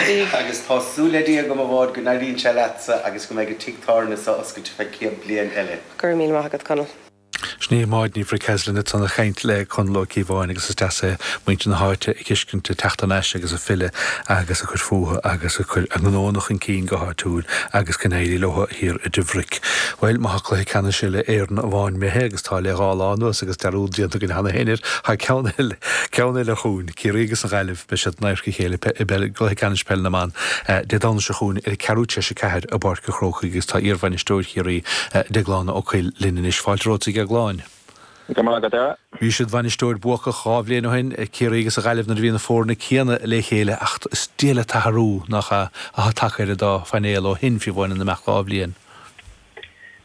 Agus tá súil le Dia agam a Mháire go n-éiríonn sé leatsa agus go mbeidh an tigh tábhairne seo oscailte feadh 100 bliain eile. Go raibh míle maith agat, Conall. Sin í Máire Ní Bhriceaslin ansan ag caint le Conall Ó Cíobháin agus is deas é muintir na háite a fheiscint ag teacht thar n-ais agus ag filleadh agus ag cur fúthu agus ag cur a ngnónna chun cinn go háitiúil agus go n-éirí leo thiar i Duibhric. Bhuel, má tá cluiche ceannais uile Éireann amháin imithe agus tá le dhá lá anuas agus dearúd déanta againn cheana féin air, tá ceann eile, ceann eile chugainn, Ciarraí agus an Ghaillimh, beidh siad in adharca a chéile i gcluiche ceannais peile na mban Dé Domhnaigh seo chugainn ar a ceathrú tar éis a ceathair i bPáirc an Chrócaigh agus tá iarbhainisteoir Chiarraí, Deaglán Ó Cuill linn anois. Fáilte romhat a Dheagláin. Go raibh maith agat, a Dhara. Bhí siad bhainisteoir buacach dhá bhliain ó shin, Ciarraí agus an Ghaillimh nuair a bhí na foirne céanna le chéile ach is diail an t-athrú nach ea atá tagtha ar an dá phainéal ó shin, fiú amháin in imeacht dhá bhliain.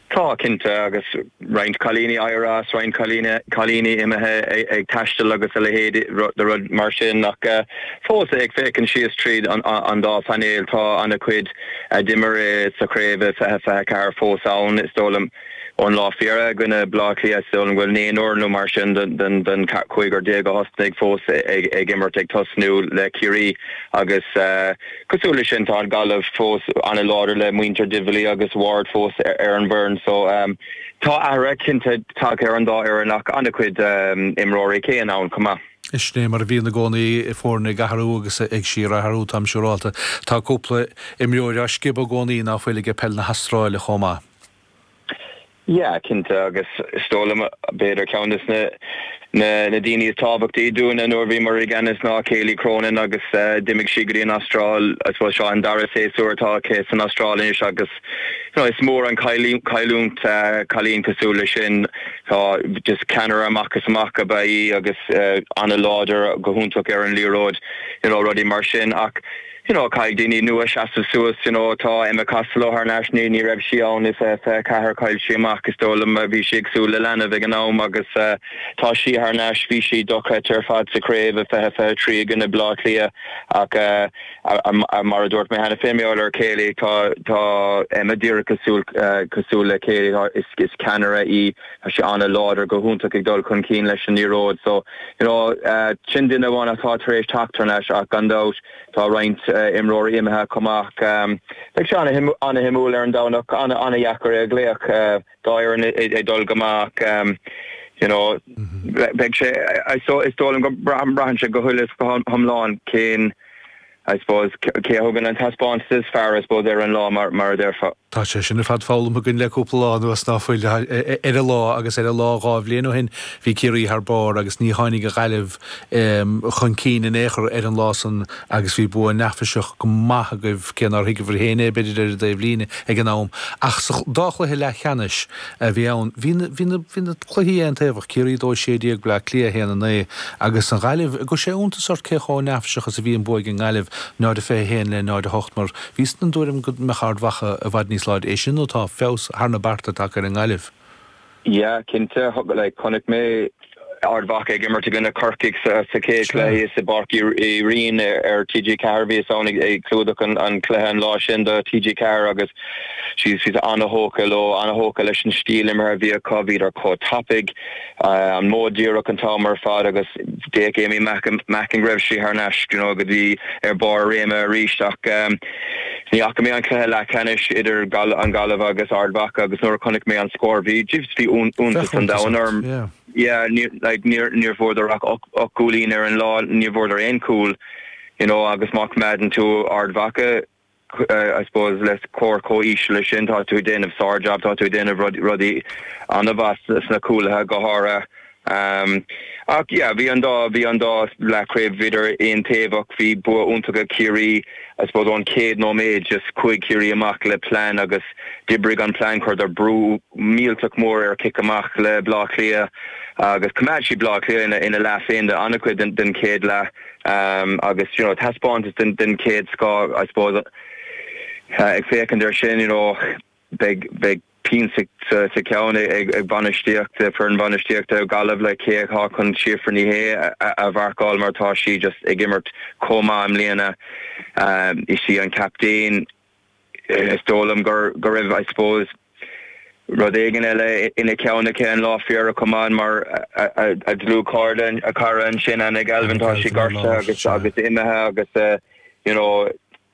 Tá, cinnte, agus roinnt cailíní éirithe as, roinnt cailíní imithe ag taisteal agus a leithéid de rud mar sin ach fós ag féachaint síos tríd an dá phainéal tá an-chuid a d'imir sa chraobh i 2024 fós ann. Is dóigh liom ón lá fíoraithe i gcoinne Bleá Cliath, is dóigh liom go bhfuil naonúr nó mar sin den chúigear déag a thosnaigh fós ag imirt ag tosnú le Ciarraí agus Cosúil leis sin, tá an Ghaillimh fós an-láidir le muintir Divilly agus Ward fós ar an bhfoireann so tá athruithe cinnte tagtha ar an dá fhoireann ach an-chuid imreoirí céanna ann chomh maith. Sin é mar a bhíonn i gcónaí, foirne ag athrú agus ag síorathrú, táim siúrálta. Tá cúpla imreoir á sciobadh i gcónaí ná fuil aige peil na hAstráile chomh maith. Yeah, cinnte, agus is dóigh liom, b'fhéidir ceann des na na daoine is tábhachtaí dúinne nuair a bhíomar i gceannas ná Kayleigh Cronin agus d'imigh sí go dtí an Astráil, I suppose seo an dara séasúr atá aici san Astráil anois agus you know is mór an cailliúint cailín cosúil le sin. Tá just ceannaire amach is amach ab ea í agus an-láidir go hiontach ar an liathróid, you know rudaí mar sin ach you know caithfidh daoine nua seasamh suas you know tá Emma Costello thar n-ais ní ní raibh sí ann i 24 chaill sí amach is dóigh liom bhí sí ag súil le leanbh ag an am agus tá sí thar n-ais bhí sí dochreidte ar fad sa chraobh i 2023 i gcoinne Bleá Cliath ach mar a dúirt mé cheana féin mar gheall ar Kayleigh tá tá Emma díreach cosúil cosúil le Kayleigh is is ceannaire í tá sí an-láidir go hiontach ag dul chun cinn leis an liathróid so you know sin duine amháin atá tar éis teacht thar n-ais ach gan dabht Tá roinnt imreoirí imithe chomh maith. Beidh sé an-shuimiúil ar an Domhnach, an-dheacair é a ghlaoch dá fhoireann ag dul go maith ach you know beidh sé, is dóigh liom go mbraitheann sé go huile is go hiomlán cén I suppose cé a thugann an taispeántas is fearr I suppose ar an lá mar a déarfá. Tá sé sin ar fad foghlamtha againn le cúpla lá anuas ná fuil ar an lá agus ar an lá dhá bhliain ó shin bhí Ciarraí thar barr agus ní tháinig an Ghaillimh chun cinn in aon chor ar an lá san agus bhí bua neafaiseach go maith agaibh cé nár thuigeabhair féin é b'fhéidir ar an dtaobh líne ag an am ach sa dá chluiche leathcheannais a bhí ann bhí na bhí na bhí na cluichí aontaobhach, Ciarraí 2 16, Bleá Cliath 1 9 agus an Ghaillimh, an gcuir sé iontas ort cé chomh neafaiseach is a bhí an bua ag an nGaillimh 0 21 le 0 8 mar Bhíos den dtuairim go mbeadh Ard Mhacha i bhfad níos láidre, é sin nó tá feabhas thar na bearta tagtha ar an nGaillimh. Yeah, cinnte. Like, chonaic mé Ard Mhacha ag imirt i gcoinne Corcaigh sa chéad chluiche i bPáirc Uí Rinn ar TG4. Bhíos ann ag clúdach an chluiche an lá sin do TG4 agus bhíos an-thógtha leo, an-thógtha leis an stíl imeartha a bhí acu. Bhíodar chomh tapaidh. an modh díreach an t-am ar fad agus d'fhéach Amy Mackin go raibh sí thar n-ais you know go dtí ar barr a réime arís ach ní fhaca mé an cluiche leathcheannais idir an Ghaillimh agus Ard Mhacha agus nuair a chonaic mé an scór bhí just bhí iontas an domhain orm. Yeah níor like níor níor bhfuaireadar ach 8 gcúilín ar an lá níor bhfuaireadar aon chúl you know agus má choimeádann tú Ard Mhacha I suppose le scór chomh íseal leis sin, tá tú ag déanamh sár-jab, tá tú ag déanamh rudaí an-mhaith sna cúlaithe go háirithe. Ach yeah, bhí an dá, bhí an dá leathchraobh, bhíodar aontaobhach, bhí bua iontach ag Ciarraí, I suppose ón chéad nóiméad, just chuaigh Ciarraí amach le plean agus d'oibrigh an plean, chuireadar brú millteach mór ar chic amach le Bleá Cliath agus choimeád siad Bleá Cliath ina leath féin do an-chuid den chéad leath. Agus you know taispeántas den den chéad scoth I suppose ag féachaint ar sin you know beidh beidh pian sa sa cheann ag ag bainistíocht foireann bhainistíochta Gaillimh le cé atá chun Síofra Ní Shé a a mharcáil mar tá sí just ag imirt chomh maith i mbliana. Is í an captaen. Is dóigh liom go raibh, I suppose, rud éigin eile ina ceann aici an lá fíorach chomh maith mar a dlúthchairde, a cara ansin, Anna Galvin, tá sí gortaithe agus agus imithe agus you know.